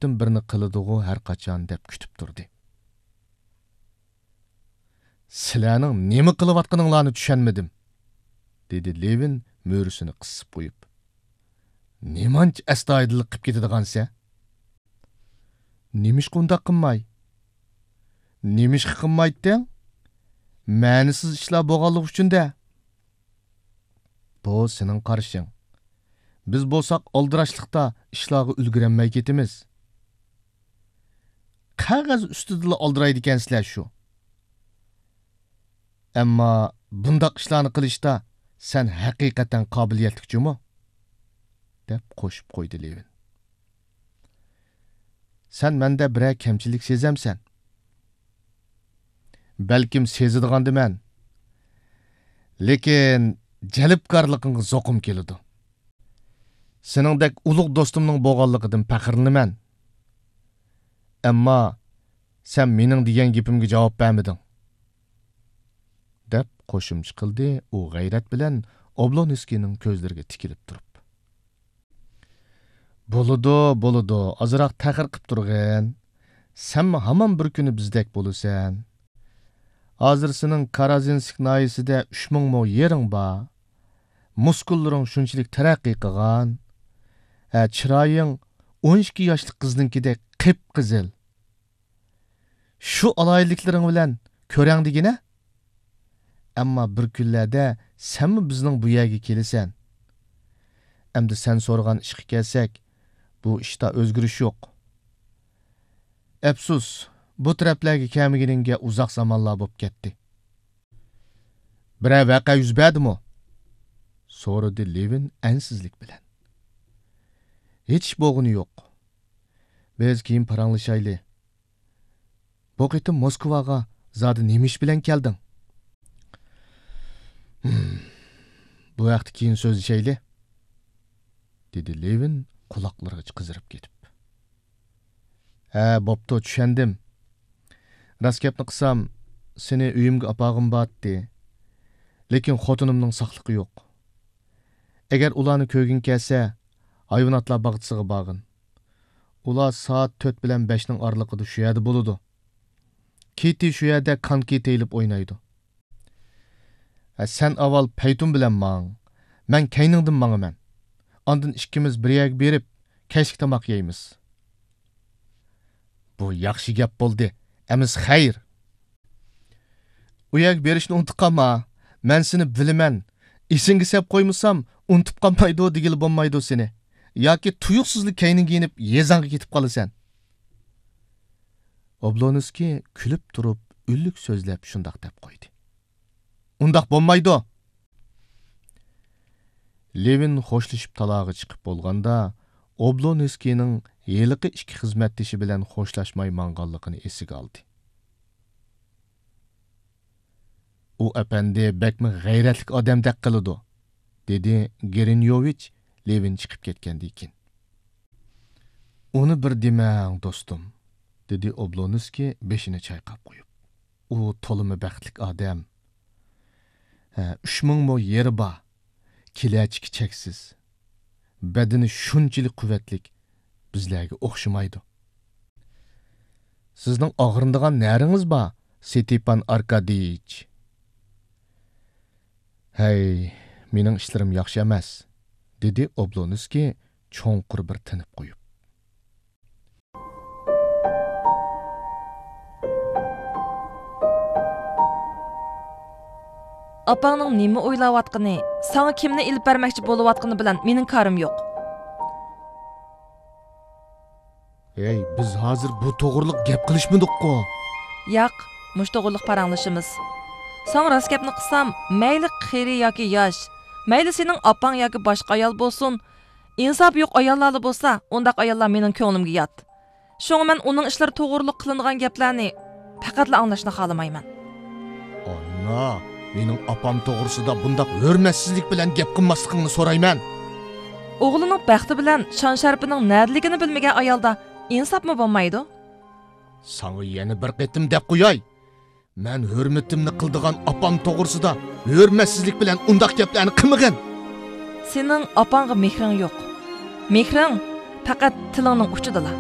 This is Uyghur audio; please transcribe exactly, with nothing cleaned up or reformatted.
تۆتتىن بىرنى قىلىدىغۇ ھەر قاچان دەپ كۈتۈپ تۇردى. سىلەرنىڭ نېمە قىلىۋاتقىنىڭلارنى چۈشەنمىدىم، دېدى لېۋىن مۈرىسىنى قىسىپ قويۇپ. نېمانچە ئەستايىدىللىق قىپ كېتىدىغانسەن؟ نېمىشقا ئۇنداق قىلماي؟ نېمىشقا قىلمايتتىڭ؟ مەنىسىز ئىشلار بولغانلىقى ئۈچۈن-دە. بۇ سېنىڭ قارىشىڭ. بىز بولساق ئالدىراشلىقتا ئىشلارغا ئۈلگۈرەلمەي كېتىمىز. قەغەز ئۈستىدىلا ئالدىرايدىكەنسىلەر شۇ. ئەمما بۇنداق ئىشلارنى قىلىشتا سەن ھەقىقەتەن قابىلىيەتلىك جۇمۇ، دەپ قوشۇپ قويدى لېۋىن. سەن مەندە بىرەر كەمچىلىك سېزەمسەن؟ بەلكىم سېزىدىغاندىمەن. لېكىن جەلپكارلىقىڭغا زوقۇم كېلىدۇ. سېنىڭدەك ئۇلۇغ دوستۇمنىڭ بولغانلىقىدىن پەخىرلىنىمەن. ئەمما سەن مېنىڭ دېگەن گېپىمگە جاۋاب بەرمىدىڭ، دەپ قوشۇمچە قىلدى ئۇ غەيرەت بىلەن ئوبلونسكىينىڭ كۆزلىرىگە تىكىلىپ تۇرۇپ. بولىدۇ، بولىدۇ، ئازراق تەخىر قىپ تۇرغىن. سەنمۇ ھامان بىر كۈنى بىزدەك بولىسەن. ھازىر سېنىڭ كارازىنسك ناھىيەسىدە ئۈچ مىڭ مو يېرىڭ بار. مۇسكۇللىرىڭ شۇنچىلىك تەرەققىي قىلغان. ھە، چىرايىڭ ئون ئىككى ياشلىق قىزنىڭكىدەك قىپقىزىل. شۇ ئالاھىدىلىكلىرىڭ بىلەن كۆرەڭ دېگىنە. ئەمما بىر كۈنلەردە سەنمۇ بىزنىڭ بۇ يەرگە كېلىسەن. ئەمدى سەن سورىغان ئىشقا كەلسەك، بۇ ئىشتا ئۆزگىرىش يوق. ئەپسۇس، بۇ تەرەپلەرگە كەلمىگىنىڭگە ئۇزاق زامانلار بولۇپ كەتتى. بىرەر ۋەقە يۈز بەردىمۇ؟ سورىدى لېۋىن ئەنسىزلىك بىلەن. ھېچ ئىش بولغىنى يوق. بىز كېيىن پاراڭلىشايلى. بۇ قېتىم موسكۋاغا زادى نېمە ئىش بىلەن كەلدىڭ؟ ھىم، بۇ ھەقتە كېيىن سۆزلىشەيلى، دېدى لېۋىن قۇلاقلىرىغىچە قىزىرىپ كېتىپ. ھە، بوپتۇ، چۈشەندىم. راست گەپنى قىلسام، سېنى ئۆيۈمگە ئاپارغۇم بارتتى. لېكىن خوتۇنۇمنىڭ ساقلىقى يوق. ئەگەر ئۇلارنى كۆرگۈڭ كەلسە، ھايۋاناتلار باغچىسىغا بارغىن. ئۇلار سائەت تۆت بىلەن بەشنىڭ ئارىلىقىدا شۇ يەردە بولىدۇ. كىتى شۇ يەردە كانكى تېيىلىپ ئوينايدۇ. ھە، سەن ئاۋۋال پەيتۇن بىلەن ماڭ، مەن كەينىڭدىن ماڭىمەن. ئاندىن ئىككىمىز بىر يەرگە بېرىپ، كەچلىك تاماق يەيمىز. بۇ ياخشى گەپ بولدى، ئەمىسە خەير. ئۇ يەرگە بېرىشنى ئۇنتۇپ قالما. مەن سېنى بىلىمەن. ئېسىڭگە سەپ قويمىسام، ئۇنتۇپ قالمايدۇ دېگىلى بولمايدۇ سېنى. ياكى تۇيۇقسىزلا كەينىڭگە يېنىپ، يېزاڭغا كېتىپ قالىسەن. ئوبلونسكىي كۈلۈپ تۇرۇپ، ئۈنلۈك سۆزلەپ شۇنداق دەپ قويدى. ئۇنداق بولمايدۇ. لېۋىن خوشلىشىپ تالاغا چىقىپ بولغاندا، ئوبلونسكىينىڭ ھېلىقى ئىككى خىزمەتدىشى بىلەن خوشلاشماي ماڭغانلىقىنى ئېسىگە ئالدى. ئۇ ئەپەندى بەكمۇ غەيرەتلىك ئادەمدەك قىلىدۇ، دېدى گىرىنيوۋىچ لېۋىن چىقىپ كەتكەندىن كېيىن. ئۇنى بىر دېمەڭ، دوستۇم، دېدى ئوبلونسكىي بېشىنى چايقاپ قويۇپ. ئۇ تولىمۇ بەختلىك ئادەم. ھە، ئۈچ مىڭ مو يېرى بار. كېلەچىكى چەكسىز. بەدىنى شۇنچىلىك قۇۋۋەتلىك، بىزلەرگە ئوخشىمايدۇ. سىزنىڭ ئاغرىنىدىغان نەرىڭىز بار، ستېپان ئاركادىيچ؟ ھەي، مېنىڭ ئىشلىرىم ياخشى ئەمەس، دېدى ئوبلونسكىي چوڭقۇر بىر تىنىپ قويۇپ. ئاپاڭنىڭ نېمە ئويلاۋاتقىنى، ساڭا كىمنى ئېلىپ بەرمەكچى بولۇۋاتقىنى بىلەن مېنىڭ كارىم يوق. ھەي، بىز ھازىر بۇ توغرىلىق گەپ قىلىشمىدۇققۇ؟ ياق، مۇشۇ توغرىلىق پاراڭلىشىمىز. ساڭا راست گەپنى قىلسام، مەيلى قېرى ياكى ياش، مەيلى سېنىڭ ئاپاڭ ياكى باشقا ئايال بولسۇن، ئىنساپى يوق ئاياللارلا بولسا، ئۇنداق ئاياللار مېنىڭ كۆڭلۈمگە يات. شۇڭا مەن ئۇنىڭ ئىشلىرى توغرۇلۇق قىلىنغان گەپلەرنى پەقەتلا ئاڭلاشنى خالىمايمەن. ئانا، مېنىڭ ئاپام توغرىسىدا بۇنداق ھۆرمەتسىزلىك بىلەن گەپ قىلماسلىقىڭنى سورايمەن. ئوغلىنىڭ بەختى بىلەن شان-شەرىپىنىڭ نەدىلىكىنى بىلمىگەن ئايالدا ئىنساپمۇ بولمايدۇ. ساڭا يەنە بىر قېتىم دەپ قوياي. مەن ھۆرمىتىمنى قىلىدىغان ئاپام توغرىسىدا ھۆرمەتسىزلىك بىلەن ئۇنداق گەپلەرنى قىلمىغىن. سېنىڭ ئاپاڭغا مېھرىڭ يوق. مېھرىڭ پەقەت تىلىڭنىڭ ئۇچىدىلا.